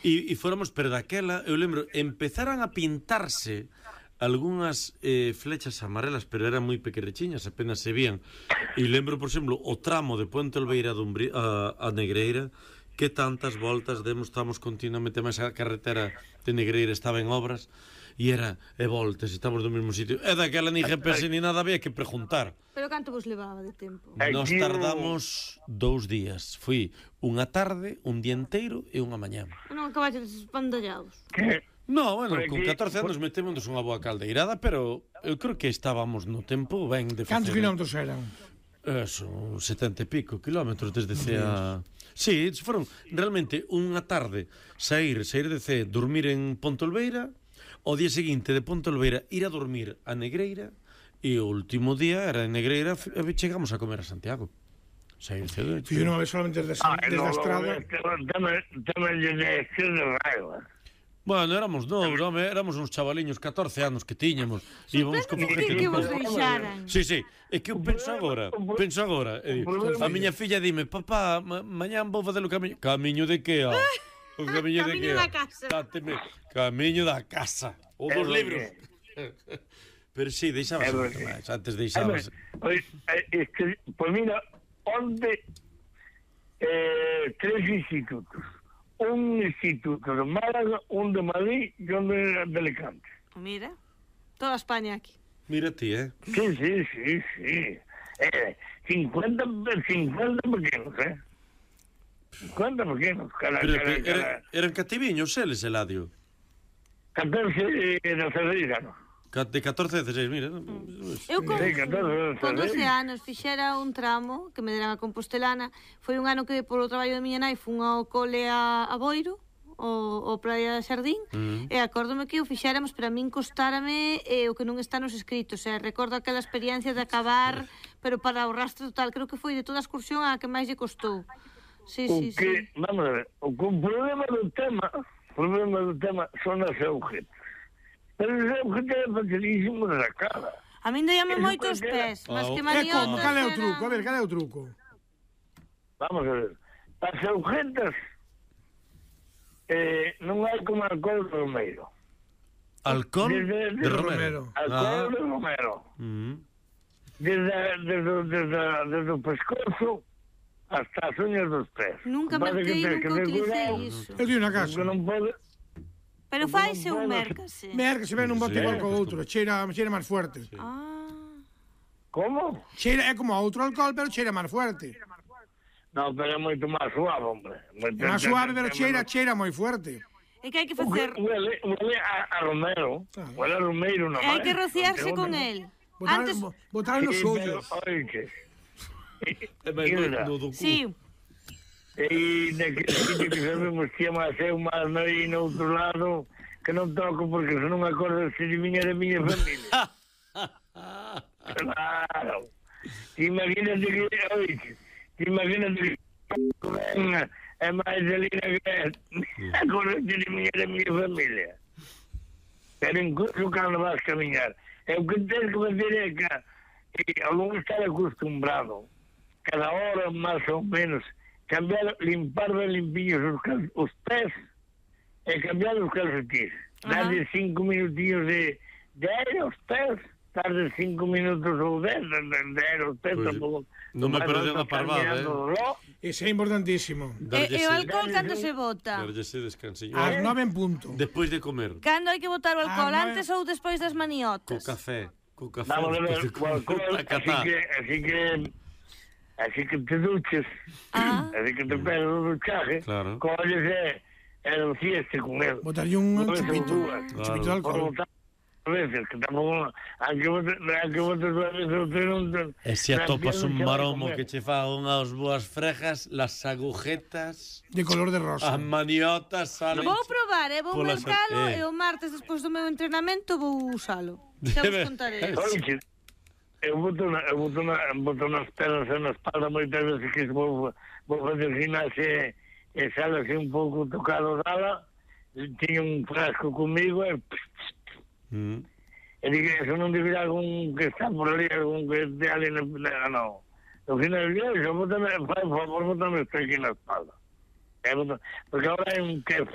E fóramos, pero daquela, eu lembro, empezaran a pintarse algunhas flechas amarelas, pero eran moi pequerechiñas, apenas se vían. E lembro, por exemplo, o tramo de Puente Olveira a Negreira, que tantas voltas demos, estamos continuamente, máis a carretera de Negreira estaba en obras, e era, voltas, estamos no mesmo sitio. E daquela ni GPS ni nada, había que preguntar. Pero canto vos levaba de tempo? Nos tardamos 2 días. Fui unha tarde, un día inteiro e unha mañá. Non acabaste espandallados? No, bueno, con 14 anos metemos unha boa caldeirada, pero eu creo que estábamos no tempo ben de facer. Cantos kilómetros eran? Eso, 70 e pico kilómetros desde Cea. Sí, foron realmente unha tarde sair de Cea, dormir en Pontolveira, o día seguinte de Pontolveira ir a dormir a Negreira, e o último día era en Negreira, chegamos a comer a Santiago. Sair cedo. Fui unha vez solamente desde a estrada. Teme de raiva. Bueno, éramos novos, éramos uns chavaliños, 14 anos que tiñamos. Íbamos como que vos deixaran. Sí, é que eu penso agora. A miña filla dime, papá, mañán vou facer o camiño. Camiño de que? O camiño de que? Camiño da casa. Camiño da casa. O dos libros. Pero sí, deixabas máis, antes deixabas. Pois mira, onde 3 institutos. Un instituto de Málaga, un de Madrid e un de Alicante. Mira, toda España aquí. Mira ti, Sí. 50 pequenos, 50 pequenos. Eran cativiños eles, Eladio? 14 de Cedriganos. De 14 a 16, mira. Eu con 12 anos fixera un tramo que me deran a Compostelana. Foi un ano que polo traballo de miña nai fun ao cole a Boiro, o Praia de Xardín, e acórdome que o fixéramos, pero a min costárame o que non está nos escritos. Recordo aquela experiencia de acabar, pero para o rastro total, creo que foi de toda a excursión a que máis lle costou. Sí. Vamos a ver, o problema do tema son as agujetas. Pero os agujetas é facilísimo de sacar. A min doíame moito os pés, mas que maniotas como? Cal é o truco? A ver, cal é o truco? Vamos a ver. As agujetas non hai como alcohol de Romeiro. Alcohol de Romero? Alcohol de Romero. Desde o pescozo hasta as uñas dos pés. Nunca utilicei iso. Eu digo na casa. Non pode... Pero faise ou mércase? Mércase, ven un bote igual co outro, cheira máis fuerte. Como? Cheira é como outro alcohol, pero cheira máis fuerte. Non, pero é moito máis suave, hombre. Máis suave, pero cheira moi fuerte. É que hai que facer... Huele a Romero. Huele a Romeiro, non hai que rociarse con el. Botar nos ollos. Sí. E naquele sitio que sabemos que é máis eu, máis noi no outro lado, que non toco porque se non acordo se de miña familia. Claro. Imagínate que é máis delina que acordo se de miña familia. Pero incluso cando vas camiñar, o que tens que fazer é que ao longo estar acostumbrado, cada hora máis ou menos, limpar ben limpiños os pés e cambiar os calcetins. Darle 5 minutinhos de aire aos pés, tarde 5 minutos ou 10 de aire aos pés. Non me perdeu a parvada, Ese é importantísimo. E o alcohol cando se bota? Darllese descansiño. As 9 en punto. Despois de comer. Cando hai que botar o alcohol, antes ou despois das maniotas? Co café. Vamos a ver, así que te duches, así que te pegas o duchaje, colles e rocieste con él. Botarlle un chupito de alcohol. Veces, que tampouco, a que botes a veces... E se atopas un maromo que che fa unhas boas frejas, las agujetas... De color de rosa. As maniotas salen... Vou probar, vou mercalo e o martes, despois do meu entrenamento, vou usalo. Xa vos contaré. Oixe, eu boto nas pernas e na espalda moitas veces que vou fazer gimnasia e sale así un pouco tocado dala, tiña un frasco comigo e... E digo, eso non debe algún que está por ali, algún que esté ali no... No final del día, por favor, bótame esto aquí na espalda. porque ahora hai un que